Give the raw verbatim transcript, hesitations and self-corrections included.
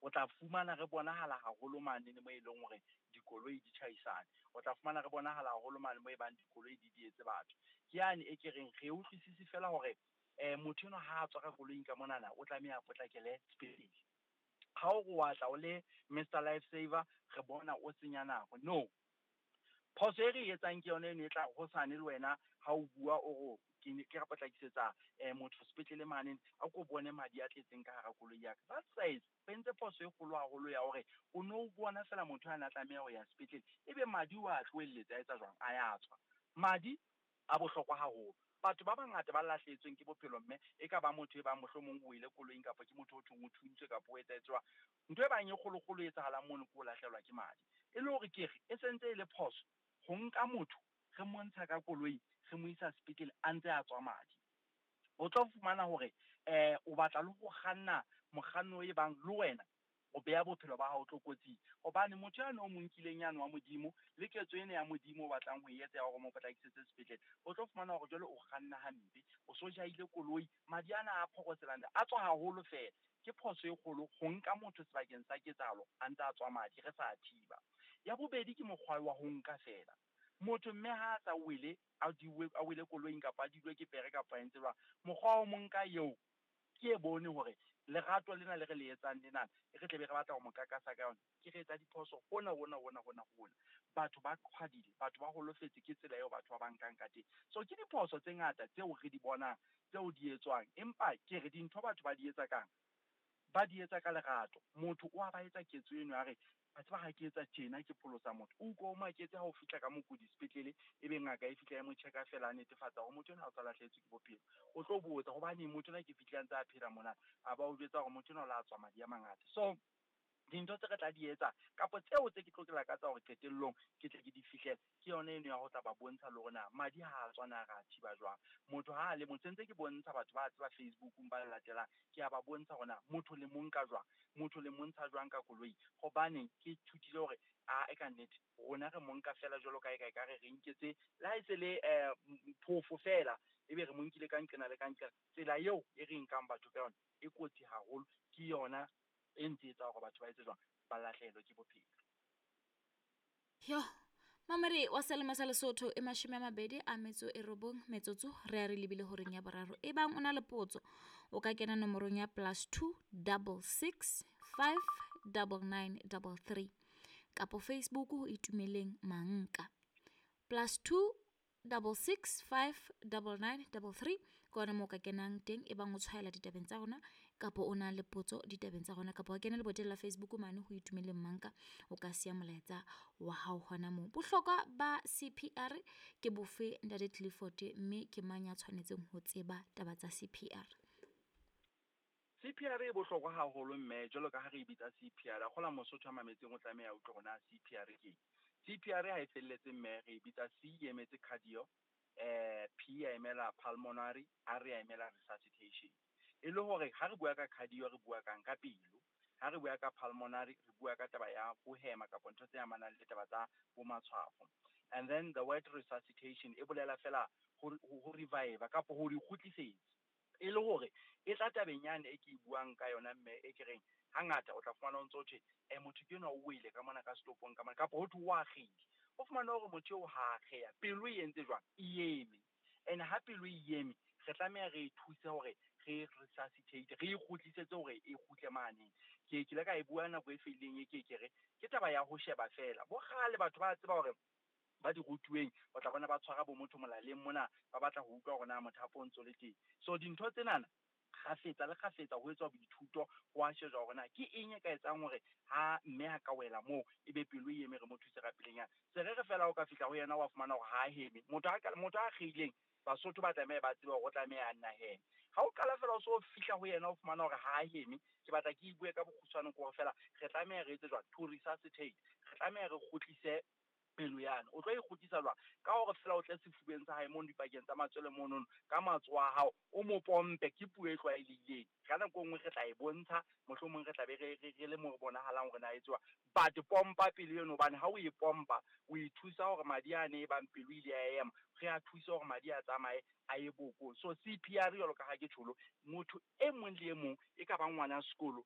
O tla fumana re bonahala haholo mane mo e leng hore dikoloi di tjhaisane. O tla fumana re bonahala haholo mane mo e bang dikoloi di dietse batho. Ke yane e ke reng re utlwisise fela hore um motho enwa ha a tswa ka koloing ka monana, o tlameha a potlakele sepetlele. Ha o re wa tla o le Mister Life Saver, re bona o senya nako. No, phoso e re e etsang ke yona eno e tla hosane le wena ha o bua o re ke ne ke re potlakisetsa um motho sepetlele mane, a ko bone madi a tletseng ka hara koloi ya ka. That size o entse phoso e kgolo haholo ya hore o no bona fela motho a na tlameha ho ya sepetlele, ebe madi o a tlohelletse a etsa jwang, a ya tswa. Madi a bohlokwa haholo. Batho ba bangata ba lahlehetsweng ke bophelo, mme e ka ba motho e bang mohlomong o ile koloing, kapa ke motho o thong o thuntswe, kapa o etsahetse jwang. Ntho e bang e kgolokgolo e etsahalang mono ke ho lahlehelwa ke madi. E le hore ke re e sentse e le phoso ho nka motho re montsha ka koloi re mo isa sepetlele a ntse a tswa madi. O tlo fumana hore um o batla le ho kganna mokganni e bang le wena o beha bophelo ba hao tlokotsing, hobane motho yane o mo nkileng yane wa Modimo le ketso ena ya Modimo o batlang ho e etsa ya hore mo potlakisetse sepetlele, o tlo fumana hore jwale o kganna hampe, o so jahile koloi, madi ana a phoroselang a tswa haholo fela. Ke phoso e kgolo ho nka motho sebakeng sa ketsahalo a ntse a tswa madi re sa thiba. Ya bobedi ke mokgwa wa ho nka fela motho, mme ha a sa wele, a diwe, a wele koloing kapa a dilwe ke pere kapa a entse jwang, mokgwa wa ho mo nka eo ke e bone hore lerato lena le re le etsang lena re tle be re batla ho mo kakasa ka yona, ke re etsa diphoso hona hona hona hona hona. Batho ba qhwadile, batho ba holofetse ke tsela eo batho ba ba nkang ka teng. So ke diphoso tse ngata tseo re di bonang tseo di etswang, empa ke re dintho batho ba di etsa kang, ba di etsa ka lerato. Motho o a ba etsa ketso eno ya re, a tseba ha ke etsa tjena ke pholosa motho. O utlwa o maketse ha o fihla ka mokudi sepetlele, ebe ngaka e fihla e mo check-a fela a netefatsa hore motho enwa ha o sa lahlehetswe ke bophelo. O tlo botsa hobaneng motho enwa ke fihlile a ntse a phela mona, a ba o jwetsa hore motho enwa o la tswa madi a mangata. So dintho tse re tla di etsa kapa tseo tse ke tlo ke lakatsa hore qetellong ke tle ke di fihlele, ke yona eno ya ho tla ba bontsha le hore na madi ha a tswa na re a thiba jwang. Motho ha a le motho, ntse ke bontsha batho ba tseba Facebookong ba latelang, ke a ba bontsha hore na motho le mo nka jwang, motho le montsha jwang ka koloi. Hobane ke ithutile hore a e ka nnete rona re mo nka fela jwalo ka e ka ekare re nketse le ha e se le um phofo fela, ebe re mo nkile ka nqena le ka nqena. Tsela eo e re nkang batho ka yona e kotsi haholo, ke yona e ntse etsa hore batho ba etse jwang, ba lahlehelwe ke bophelo. Yo, mamedi wa Selemo sa Lesotho e mashome a mabedi a metso e robong metsotso re a re lebile horeng ya boraro. E bang o na le potso, o ka kena nomorong ya plus two double six five double nine double three kapo Facebook ho Itumeleng Manka. Plus two double six five double nine double three ke hona moo o ka kenang teng e bang o tshwaela ditabeng tsa rona kapo o na le potso ditabeng tsa rona, kapo wa kena leboteng la Facebook mane ho Itumeleng Manka, o ka siya molaetsa wa hao hona moo. Bohlokwa ba C P R ke bofe, Ntate Clifford, mme ke mang ya tshwanetseng ho tseba taba tsa C P R? C P R e bohlokwa haholo mme, jwalo ka ha re e bitsa C P R, a kgola Mosotho a mametseng o tlameha a utlwe hore na C P R ke eng. C P R ha e felletse mme, re e bitsa C e emetse cardio, eh, P e emela pulmonary, R e emela resuscitation. E le hore ha re bua ka cardio re bua kang ka pelo, ha re bua ka pulmonary re bua ka taba ya ho hema kapa ntho tse amanang le taba tsa bo matshwafo. And then the word resuscitation e bolela fela ho, ho revive kapa ho di kgutlisetsa. E le hore e tla tabeng yane e ke e buang ka yona mme, e ke reng hangata o tla fumana o ntso thwe, eh, motho ke enwa o wele ka mona ka setopong ka mona, kapa ho thwe o akgehile. O fumana hore motho eo ha akgeha, pelo e entse jwang? E eme. And ha pelo e eme, re tlameha re e thuse hore re resuscitate, re e kgutlisetse hore e kgutle mane. Ke ke ile ka e bua nako e fetileng e ke ke re, ke taba ya ho sheba fela. Bo kgale batho ba tseba hore ba di rutuweng, o tla bona ba tshwara bo motho molaleng mona, ba batla ho utlwa hore na mothapo o ntso le teng. So dintho tsenana kgafetsa le kgafetsa ho etswa boithuto, ho a shejwa hore na ke eng e ka etsang hore ha mme a ka wela moo ebe pelo e eme, re mo thuse ka pelenyana. Se re re fela o ka fihla ho yena wa fumana hore ha a heme. Motho a ka, motho a akgehileng, Basotho ba tlameha ba tsebe hore o tlameha a nna heme. Ha o qala fela o so fihla ho yena o fumana hore ha a heme, ke batla ke bue ka bokgutshwane ke hore fela re tlameha re etse jwang to resuscitate, re tlameha re kgutlise pelo yane. O tlo e kgutlisa jwang? Ka hore fela o tle sefubeng sa hae mono dipakeng tsa matswele monono, ka matsoho a hao o mo pompe, ke puo e tlwaelehileng. Ka nako e nngwe re tla e bontsha, mohlomong re tla be re, re, re le mo re bonahalang hore na e etsuwa. But pompa pelo eno, hobane ha o e pompa o e thusa hore madi a ne e bang pelo ile ya ema, re a thusa hore madi a tsamaye a ye bokong. So C P R jwalo ka ha ke tjholo, motho e mong le e mong e ka bang ngwana sekolo